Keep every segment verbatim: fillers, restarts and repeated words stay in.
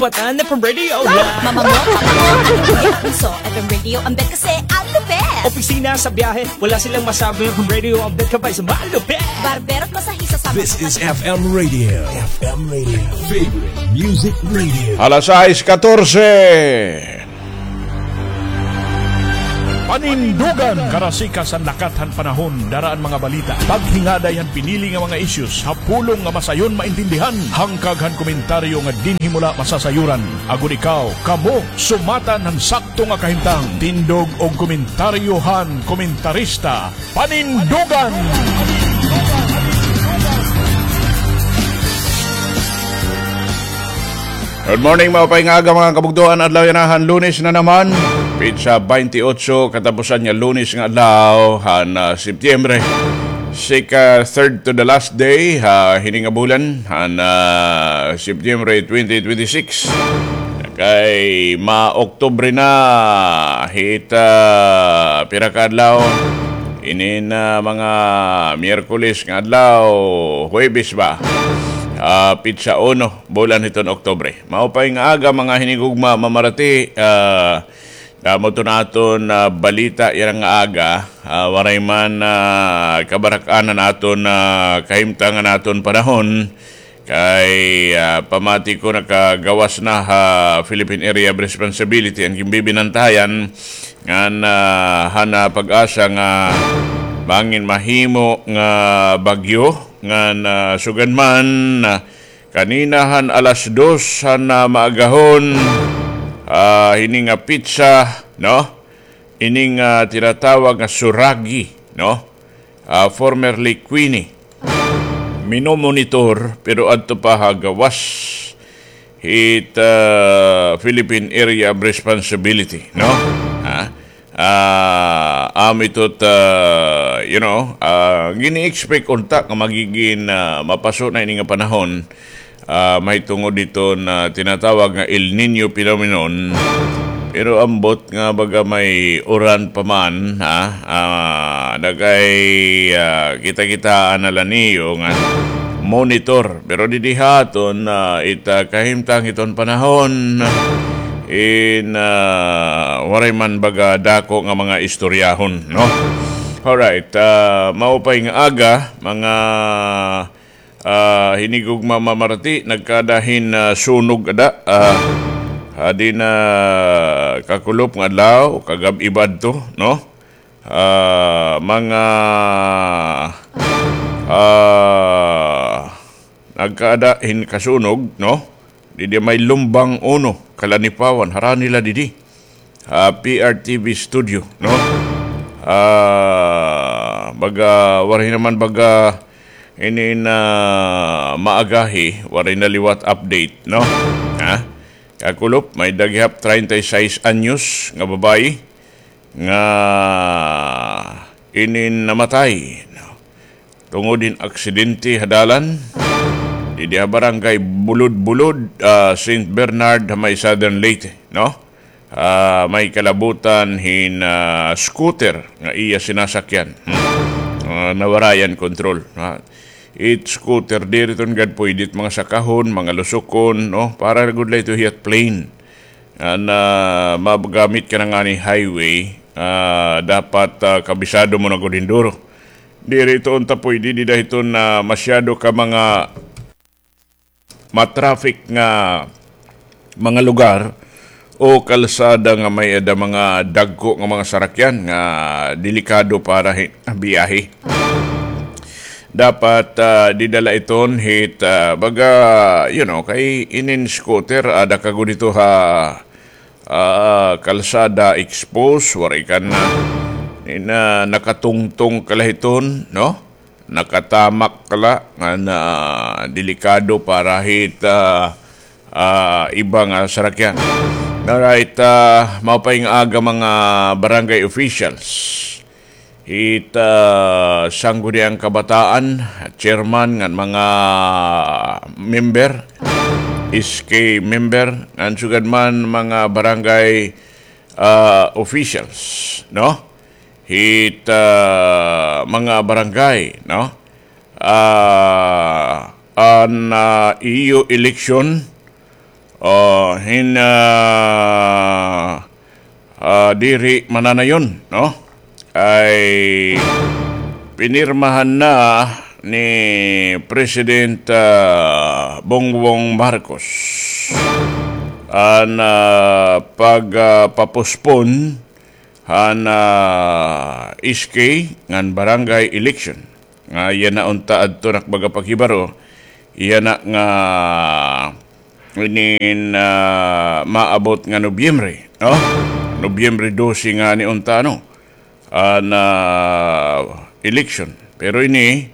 Patan F M Radio la. Mama mo, papa mo, ano mo, punso, F M Radio, ang bet kasi, ang lupet. Opisina, sa biyahe, wala silang masabi, F M Radio, ang bet ka pa sa malupet. Barbero at masahista sa This is F M Radio. F M Radio. Favorite Music Radio. Alas sais katorse. Panindugan! Karasikas han lakat han panahon, dara an mga balita. Paghingaday han pinili nga mga issues, ha pulong nga masayon maintindihan. Hangkag han komentaryo nga dinhi mo la masasayuran. Agod ikaw, kamo, sumatan han sakto nga kahimtang. Tindog og komentaryo han komentarista. Panindugan! Good morning, maupay nga aga, mga kabugtoan. Adlaw yana han Lunes na naman. Petsa twenty-eight, katapusan nga Lunes nga adlaw han, ah, Setyembre. Sika third to the last day ha hini nga bulan han, ah, Setyembre twenty twenty-six. Kay ma-Oktubre na hit, ah, pira ka adlaw. Ini na mga Miyerkules nga adlaw, Huwebes ba? Ah, petsa uno, bulan hiton Oktubre. Maupay nga aga, mga hinigugma, mamarati, ah, damo to naton, ah, balita yana nga aga, ah, waray man, ah, kabarak-an han aton, ah, kahimtang han aton panahon, kay, ah, pamati ko nakagawas na ha Philippine Area of Responsibility an ginbibinantayan ngan, ah, han, ah, pag-asa nga bangin mahimo nga bagyo ngan, ah, sugad man, ah, kanina han alas dos han, ah, maagahon, ah, hini nga petsa, no? Ini nga tinatawag nga Suragi, no? Ah, formerly Queenie. Minomonitor, pero adto pa ha gawas hit, ah, Philippine Area of Responsibility, no? Ha? Ah, amo ito, ah, you know, ah, gini-expect unta nga magigin, ah, mapaso na ini nga panahon, ah, mahitungod hiton tinatawag nga El Niño phenomenon. Pero ambot nga baga may uran pa man, ha? Ah, nagay, ah, kita-kitaan na la niyo nga monitor. Pero didi ha aton, ah, it, ah, kahimtang hiton panahon, in, ah, waray man baga dako nga mga istoryahon, no? Alright, ah, maupay nga aga, mga ah, hinigugma, mamarati, nagkaada hin, ah, sunog ada, ah, hadi na kakulop nga adlaw, kagab-i ba adto, no? Ah, mga, ah, nagkaada hin kasunog, no? Didi may Lumbang uno, Kalanipawan, harani la didi. Ah, P R T V studio, no? Ah, baga, waray naman baga ini na maagahi, waray na liwat update, no? Ha? Kakulop, may-ada gihap treinta y seis anyos nga babayi nga inin namatay, no? Tungod hin aksidente ha dalan, didi ha barangay Bulod-Bulod, ah, Saint Bernard, ha may Southern Leyte, no? Ah, may kalabutan hin, ah, scooter nga iya sinasakyan. Hmm. Ah, nawarayan kontrol, ha? It scooter, diri iton gad pwede it mga sakahon, mga lusokon, no? Para gud la ito hiya plain. An, ah, magamit ka na ngani highway, ah, dapat, ah, kabisado mo na gud hin duro. Diri ito unta pwede, dida hiton, ah, masyado ka mga ma-traffic nga mga lugar o kalsada nga may-ada mga dagko nga mga sarakyan nga delikado para hi-, biyahe. Dapat, ah, dida la iton hit, ah, baga, you know, kay inin scooter, ada ka gud ito ha, ah, kalsada expose, waray ka na, ina, nakatungtong ka la hiton, no? Nakatamak ka la, nga na delikado para hit, ah, ah, iba nga sarakyan. Alright, ah, maupay nga aga mga barangay officials. Hit, ah, Sangguniang Kabataan, chairman ngan mga member, S K member, ngan sugad man mga barangay, ah, officials, no? Hit, ah, mga barangay, no? Ah, an, ah, iyo eleksyon, ah, hin, ah, ah, diri mananayon, no? Ay pinirmahan na ni President, ah, Bongbong Marcos an, ah, pag, ah, papospon han, ah, S K ngan barangay election. Nga yana unta adto nak baga paghibaro, yana nga inin, ah, maabot nga Nobyembre, no? Nobyembre dose ngani unta, no? An, ah, election. Pero ini,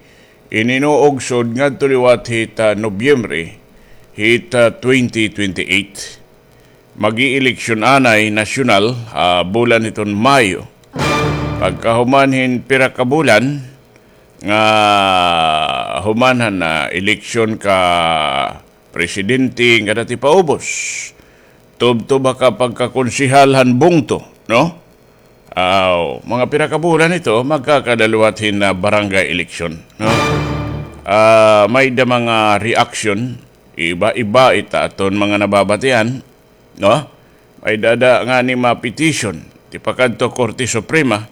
ini no ugsod ngadto liwat hit, ah, Nobyembre, hit, ah, twenty twenty-eight. Mag-ieleksyon anay nasyonal, ah, bulan hiton Mayo. Pagkahuman hin pira ka bulan, nga human han, ah, eleksyon ka presidente nga dati paubos. Tubtob ha ka pagkakonsehal han bungto, no? Aw, mga pira ka bulan ito, magkakada liwat hin, ah, barangay election, no? Ah, may-ada mga reaction, iba-iba ita aton mga nababatian, no? May-ada ngani ma-petition, tipakadto Korte Suprema,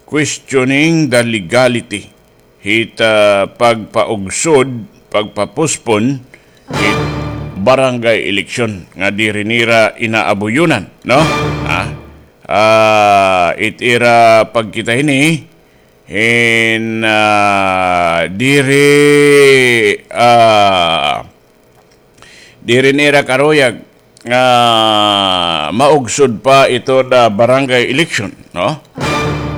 questioning the legality hit, ah, pagpaugsod, pagpapospon hit barangay election nga diri nira inaabuyonan, no? Ah, ah, it ira pagkita hini, hin, ah, diri, ah, diri nira karuyag nga maugsod pa ito na barangay election, no?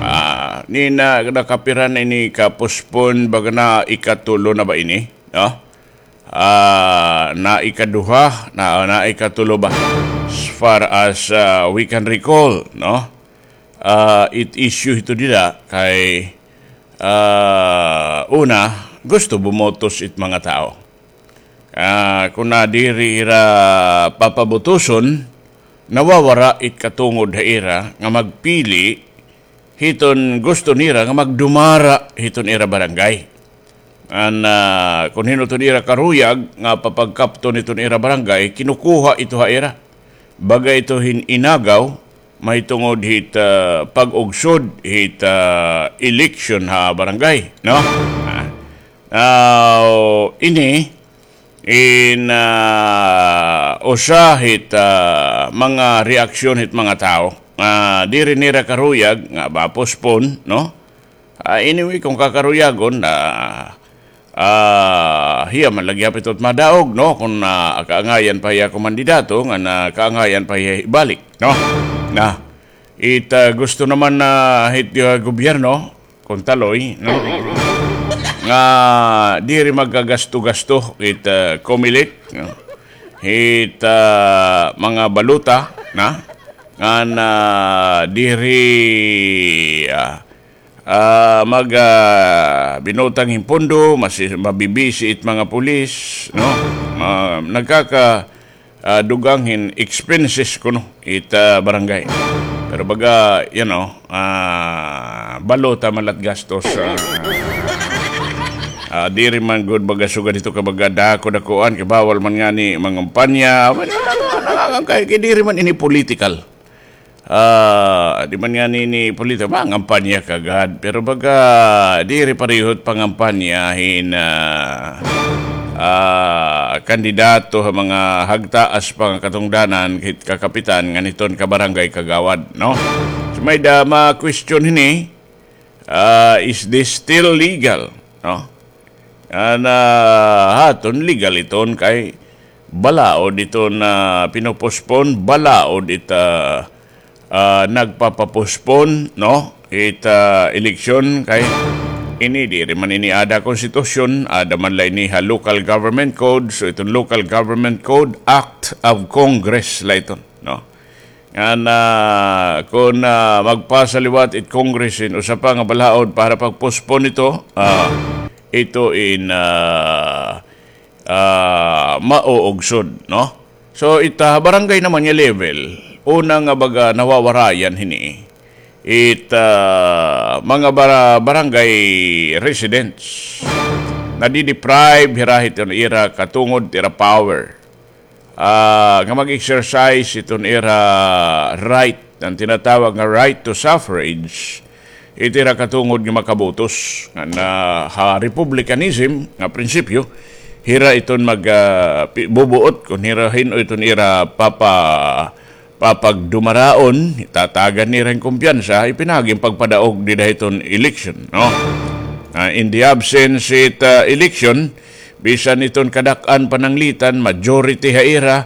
Ah, nina, nakapira na ini ka postpone, baga na ikatulo na ba ini, no? Ah, na ikaduha, na, na ikatulo ba? As far as, ah, we can recall, no? Ah, it issue ito dida kay, ah, una, gusto bumotos it mga tao. Ah, kun na diri ira papabotoson, nawawara it katungod ha ira nga magpili hiton gusto nira nga magdumara hiton ira barangay. An, ah, kun hin-o iton ira karuyag nga papagkapton hiton ira barangay, kinukuha ito ha ira. Baga ito hin inagaw, mahitungod hit, ah, pag-ugsod hit, ah, election ha barangay, no? Ah. Now, ini, in, ah, usa hit, ah, mga reaksyon hit mga tawo. Ah, diri nira karuyag nga ma-postpone, no? Ah, anyway, kun kakaruyagon, ah, ah, hiya man la gihap ito it madaog, no? Kun, ah, kaangayan pa hiya kumandidato, ngan kaangayan pa hiya ibalik, no? Na, it, ah, gusto naman na hit, ah, gobyerno, kun taloy, no? Nga diri magkagasto-gasto it, ah, Comelec, no? Hit, ah, mga balota, na? Ngan, ah, diri, ah, ah, mag, ah, binutang hin pondo, mas, mabibisi it mga pulis, no? Ma-, nagkaka-, ah, dugang hin expenses kuno it, ah, barangay. Pero baga, you know, ah, balota man la it gastos, ah, ah, diri man gud baga sugad hito ka baga dako-dakoan, kay bawal man ngani mangampanya, kay, kay diri man ini political. Ah, di man ngani ini politiko, mangampanya ka gad. Pero baga, diri pareho it pangampanya hin, ah, ah, kandidato ha mga hagtaas pa nga katungdanan, hit kakapitan, ngan hiton kabarangay kagawad, no? So, may-ada ma-question hini, ah, is this still legal, no? An, ah, ha aton legal iton kay balaod iton, ah, pino-postpone, balaod it, ah, ah, nagpapa-postpone, no? It, ah, eleksyon kay ini diri man ini ada konstitusyon, ada man la ini ha local government code, so iton local government code, act of Congress la iton, no? Ngan, ah, kun, ah, magpasa liwat it Congress hin usa pa nga balaod para pag-postpone ito, ah, ito in, ah, ah, mauugsod, no? So, it, ah, barangay naman nga level, una nga baga nawawarayan hini, it, ah, mga bara-, barangay residents, nadi-deprive hira hit ira katungod ira power. ah, nga mag-exercise iton ira right, an tinatawag nga right to suffrage, iti ira katungod nga makabotos. Nga na, ha republicanism nga prinsipyo, hira iton mag, ah, pi-, bubuot kon hira hin-o iton ira papa-, papagdumaraon, tatagan nira hin kumpiyansa, ipinaagi an pagpadaog dida hiton election, no? Ah, in the absence it, ah, election, bisan iton kadak-an pananglitan, majority ha ira,